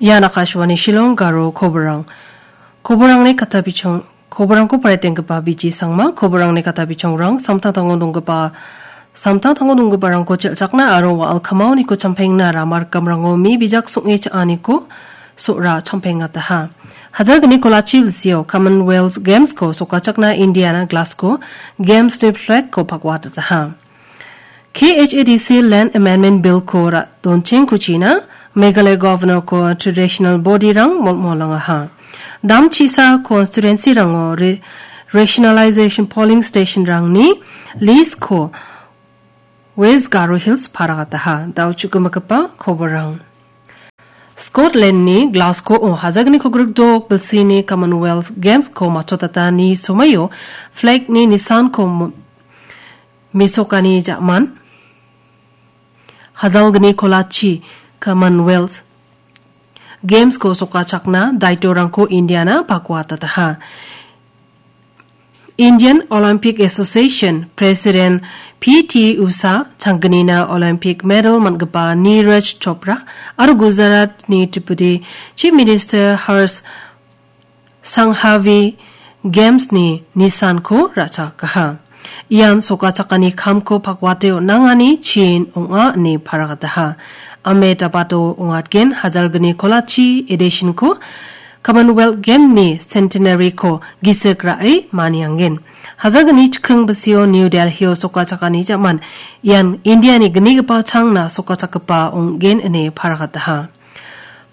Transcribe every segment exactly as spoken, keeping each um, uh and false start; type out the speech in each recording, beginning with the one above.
Ian Akashvani Shillong Garo koborang. Koborangni kata bichong, koborangko paritenggipa B G Sangma, koborangni kata bichongrang, samtangtango donggipa, samtangtango donggiparangko chelchakna aro wa·al kamaoniko champengna ramar kamrango mi bijak song·e cha·aniko so·ra champengataha. Hajalgni kolachi bilsio Commonwealth Games-ko sokachakna Indiana Glasgow Games-ni flag-ko pakwatataha. K H A D C Land Amendment Bill-ko ra-, donchengkuchina Meghalaya Governor-ko traditional body-rang molmolangaha. Dam chisa constituency-rango re-, rationalization polling station-rangni list-ko West Garo Hills paragataha. Dao chukumagipa koborang. Scotland-ni Glasgow-o hajalgni kogrikdok bilsini Commonwealth Games-ko machotatani somaio flag-ni nisanko mo-, mesokani ja·man. Hajalgni kolachi Commonwealth Games-ko sokachakna daitorangko Indiana pakwatataha. Indian Olympic Association President P T Usha, changgnina Olympic medal man·gipa Neeraj Chopra aro Gujarat-ni Deputy Chief Minister Harsh Sanghavi Games-ni nisanko ra·chakaha. Ian sokachakani kamko pakwate on·angani chin ong·a ine paragataha. Ahmedabad-o ongatgen hajalgni kolachi edition-ko Commonwealth Game-ni Centenary-ko gisik ra·e maniangen. Hajalgni chikking bisio New Delhi-o sokachakani ja·man ian India-ni gnigipa changna sokachakgipa ong·gen ine paragataha.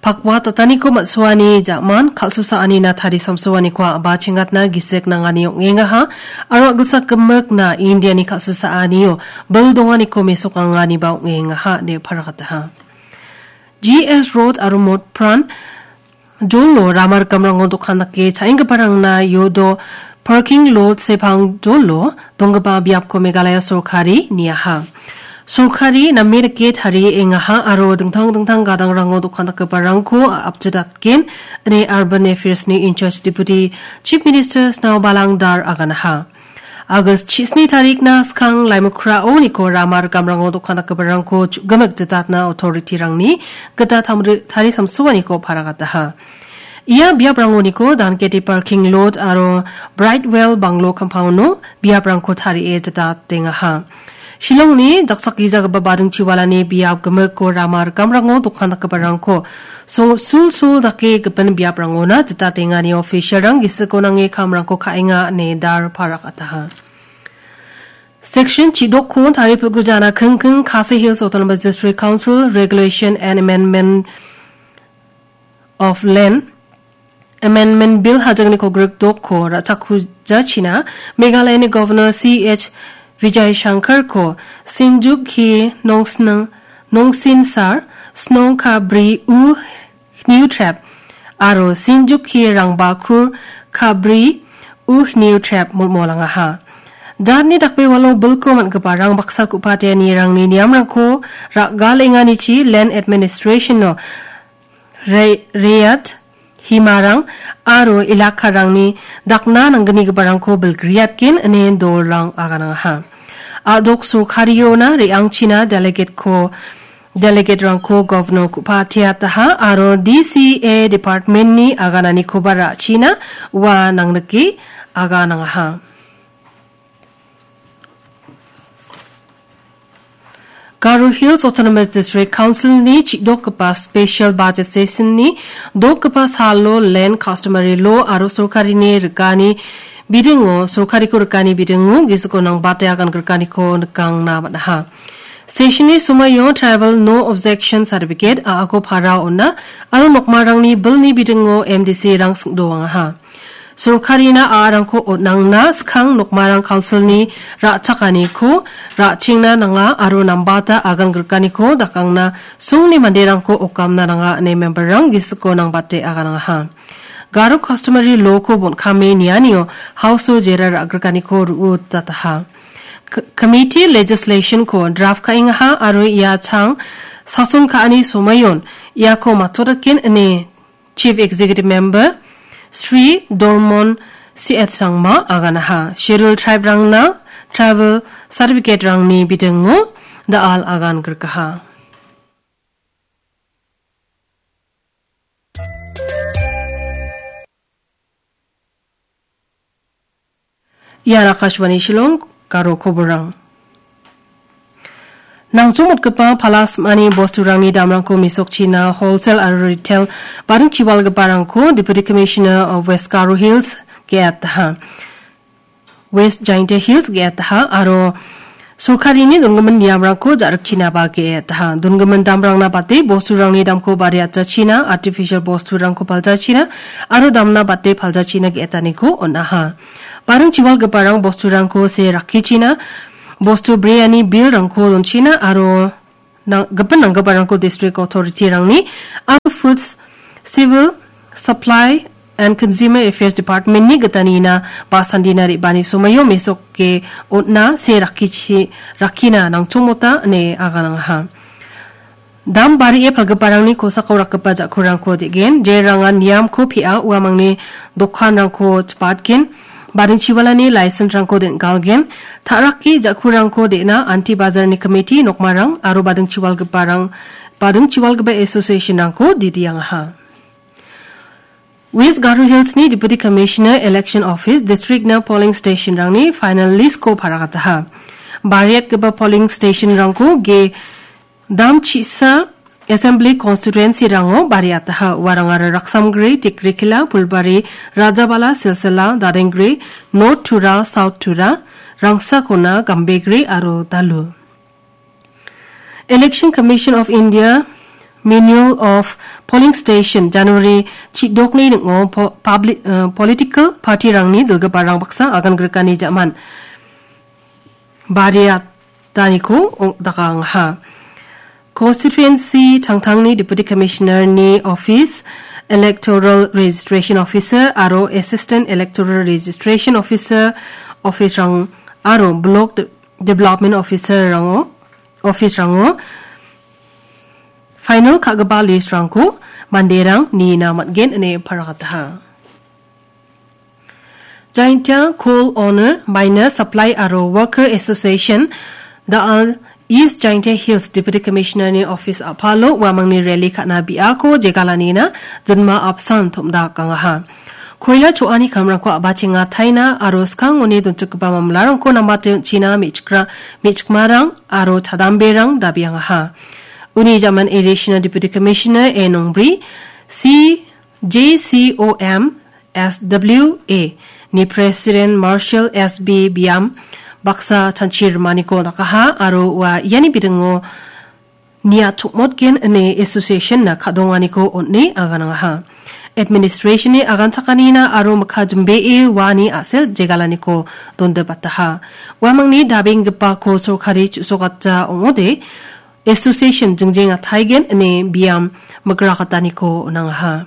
Pakwa tataniko man·suani ja·man kal·susaanina tarisamsoaniko a·ba chengatna gisik nangani ong·engaha, aro a·gilsak gimikna India-ni kal·susaanio bil donganiko mesokanganiba ong·engaha ine paragataha. G S Road aro Motpran Jolo ramar gamrango dokan dake cha·enggiparangna iodo parking lot sepang jolo donggipa biapko Meghalaya sorkari niaha. Sorkari name dake tariengaha aro dingtang dingtang gadangrango dokan dakgiparangko apjedatgen ine Urban Affairs-ni in-charge Deputy Chief Minister Snowbalang Dar aganaha. August chisni tarikna skang Laimukhrao niko ramar gamrango dokan dakgiparangko chu-, gimik jitatna authority-rangni gita tamri-, tarisamsoaniko paragataha. Ia biaprangoniko Danketi parking lot aro Brightwell Banglo compound-o biaprangko tarie jitatengaha. Shillongni daksakijagipa badingchiwalani biap gimikko ramar gamrango dokan dakgiparangko so-, sulsul dake gipin biaprangona jitatengani official-rang gisiko nange kamrangko ka·enga ine Dar paragataha. Section chidokko taripilgujana kingking Khasi Hills Autonomous District Council Regulation and Amendment of Land Amendment Bill hajalgni kogrikdokko ra·chakujachina Meghalayani Governor C H Vijay Shankar-ko Sinjuk hi nongsning, nongsinsar, snong ka bri u hniutrep, aro Sinjuk hi rangbakur ka bri u hniutrep molmolangaha. Jatni dakbewalo bilko man·gipa rangbaksa ku·pateanirangni niamrangko ra·galenganichi Land Administration-o re-, reat himarang aro elakarangni dakna nanggnigiparangko bilgriatgen ine dolrang aganangaha. A·dok sorkariona re·angchina delegate-ko, delegate-rangko governor ku·pateataha aro D C A department-ni agananikoba ra·china ua nangnike aganangaha. Garo Hills Autonomous District Council-ni chi·dokgipa special budget session-ni dokgipa salo land customary law aro sorkarini rikani bidingo, sorkariko rikani bidingo gisiko nangbate agan grikaniko nikangna man·aha. Session-ni somoio tribal no objection certificate a·ako para on·a aro nokmarangni bilni bidingo M D C-rang sing·doangaha. Sorkarina a·arangko on·angna skang nokmarang council-ni ra·chakaniko ra·chengna nanga aro nambata agan grikaniko dakangna songni manderangko okamna nanga ine member-rang gisiko nangbate aganangaha. Garo customary law-ko bon·kame nianio House-o jera ra·grikaniko ru·utataha. K-, committee legislation-ko draft ka·engaha aro ia chang sason ka·ani somoion iako matchodatgen ine Chief Executive Member Sri Dormon C H Sangma aganaha. Scheduled Tribe-rangna tribal certificate-rangni bidingo da·al agan grikaha. Ian Akashvani Shillong, Garo koborang. Nangchongmotgipa palasmani bosturangni damrangko mesokchina wholesale aro retail baring chiwalgiparangko Deputy Commissioner of West Garo Hills ge·ataha. West Jaintia Hills ge·ataha aro sorkarini donggimin niamrangko ja·rikchinaba ge·ataha. Donggimin damrangna bate bosturangni damko bariatjachina, artificial bosturangko paljachina aro damna bate paljachina ge·etaniko on·aha. Baring chiwalgiparang bosturangko se rakkichina, bostu breani bilrangko donchina aro nang-, gipin nanggiparangko district authority-rangni aro Foods, Civil Supply and Consumer Affairs Department-ni gitanina ba sandina re·bani somoio mesoke on·a se rakkichi-, rakkina nangchongmota ine aganangaha. Dam barie palgiparangni kosako rakgipa ja·kurangko de·gen, jerangan niamko pea uamangni dokanrangko chipatgen, baring chiwalani license-rangko den·galgen, ta·rake ja·kurangko de·na anti bazarni komiti nokmarang aro baring chiwalgiparang, baring chiwalgipa association-rangko didiangaha. West Garo Hills-ni Deputy Commissioner Election Office district-na polling station-rangni final list-ko paragataha. Bariatgipa polling station-rangko ge dam chisa Assembly Constituency-rango bariataha. Uarangara Raksamgre, Tikrikila, Pulbari, Rajabala, Silsila, Darenggre, North Tura, South Tura, Rangsakona, Gambegre aro Dalu. Election Commission of India Manual of Polling Station January chidokni ning·o po-, public, eh, political party-rangni dilgiparang baksa agan grikani ja·man bariataniko ong-, dakangaha. Constituency tangtangni Deputy Commissioner-ni office, Electoral Registration Officer aro Assistant Electoral Registration Officer office-rang aro Block De-, Development Officer-rango, office-rango final ka·gipa list-rangko manderang nina man·gen ine paragataha. Jaintia Coal Owner, Miner, Supply aro Worker Association, The All East Jaintia Hills Deputy Commissioner-ni office a·palo uamangni rally ka·na biako jegalanina jinma apsan tom·dakangaha. Koila cho·ani kamrangko a·bachenga taina aro skangoni donchakgipa mamlarangko namate on·china me·chikra-, me·chikmarang aro chadamberang dabiangaha. Uni jaman Additional Deputy Commissioner A Nongbri, C J C O M S W A ni President Marshall S B Biam baksa chanchi rimaniko dakaha aro ua iani bidingo nia chokmotgen ine association-na ka·donganiko on·e aganangaha. Administration-ni aganchakanina aro mikka jimbee uani a·sel jegalaniko dondibataha. Uamangni dabenggipako sorkari chu·sokatja ong·ode association jingjeng ataigen ine Biam migrakataniko on·angaha.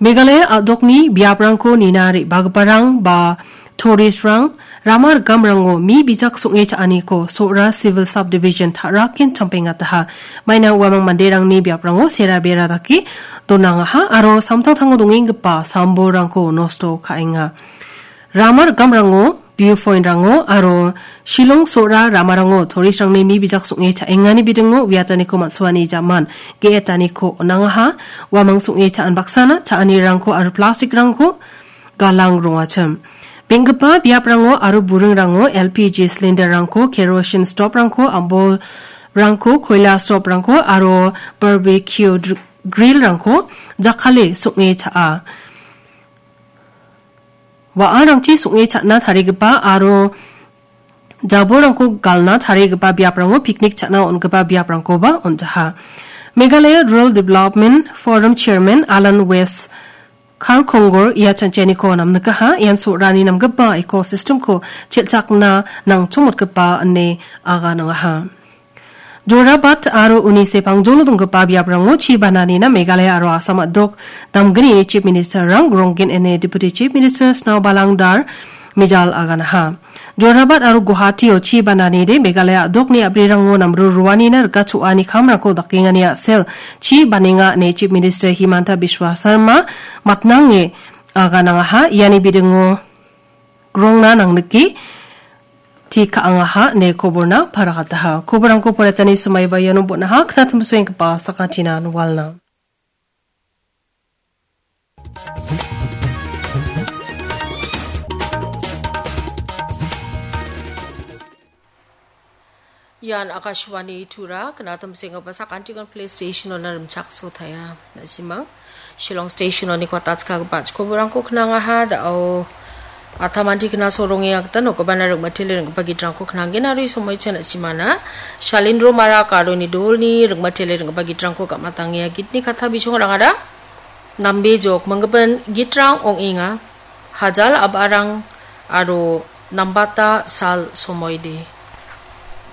Meghalaya a·dokni biaprangko nina re·bagiparang ba tourist-rang rama rikamrango mi bijak song·e cha·aniko Sohra Civil Subdivision ta·raken champengataha. Maina uamang manderangni biaprango sera bera dake donangaha aro samtangtango dongenggipa sambolrangko nosto ka·enga. Rama rikamrango, view point-rango aro Shillong Sohra ramarango tourist-rangni mi bijak song·e cha·engani bidingo uiataniko man·suani jaman ge·etaniko on·angaha. Uamang song·e cha·an baksana cha·anirangko aro plastic-rangko galang rongachim. Benggipa biaprango aro buringrango L P G cylinder-rangko, kerosene stove-rangko, ambolrangko, koila stove-rangko aro barbecue dr-, grill-rangko jakale song·e cha·a. Wa·arangchi song·e cha·na tarigipa aro jabolrangko galna tarigipa biaprango picnic cha·na on·gipa biaprangkoba on·jaha. Meghalaya Rural Development Forum Chairman Alan West Karkongor ia chanchianiko namnikaha, ian Sohrani namgipa ecosystem-ko chelchakna nangchongmotgipa ine aganangaha. Jorabat aro uni sepangjolo donggipa biaprango chi bananina Meghalaya aro Assam a·dok damgnini Chief Minister-rang Gronggen ine Deputy Chief Minister Snowbalang Dar mijal aganaha. Jorabat aro Guwahati-o chi bananide Meghalaya a·dokni a·brirango namru ruanina rika cho·ani kamrangko dakengani a·sel chi banenga ine Chief Minister Himanta Biswa Sarma matnange aganangaha. Iani bidingo grongna nangnike ti ka·angaha ine koborna paragataha. Koborangko poretani somaiba iano bon·aha, knatimsoenggipa sakantinan walna. Ian Akashvani Tura, knatam senggipa sakantikon play station-ona rimchaksotaia. Na·simang Shillong station-oni kotatskagipa chikoburangko knangaha, da·o atamanti kna soronge agita nokgipana ringmatele ringgipa gitrangko knangen aro isomoicha na·simana Shalindro Marak aro Nidolni ringmatele ringgipa gitrangko gam·atangenga gitni katta bisongrangara nambe jok minggipin gitrang ong·enga. Hajal ab·arang aro nambata sal somoide.